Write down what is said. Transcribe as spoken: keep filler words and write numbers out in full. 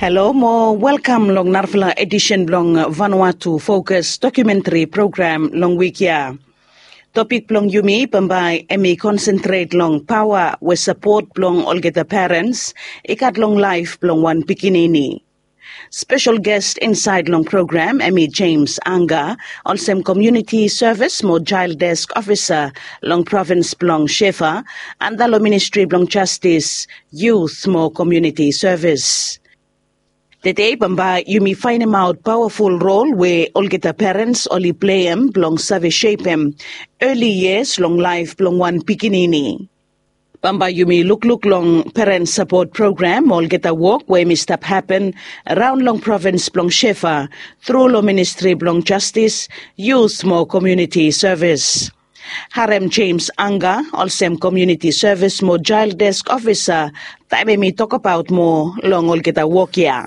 Halo mo welkam long narafala edisen blong Vanuatu Fokus Dokumentari Program long wik ya. Topik blong yumi bambae em i konsentret long paoa we sapot blong olgeta perens i gat long laef blong wan pikinini. Spesel ges insaed long program em i Jemes Anga, olsem komiuniti sevis mo jael desk ofisa long provins blong Shefa, anda long ministri blong jastis, yut mo komiuniti sevis. Tede bambae yumi faenemaot pawaful rol we olgeta perens oli pleim blong save sepem eli yias long laef blong wan pikinini. Bambae yumi lukluk long perens sapot program mo olgeta wok we em i stap hapen raon long provins blong Shefa tru long ministri blong jastis, yut mo komiuniti sevis. Harem Jemes Anga, olsem komiuniti sevis mo jael desk ofisa, taem em i tokbaot moa long olgeta wok ya.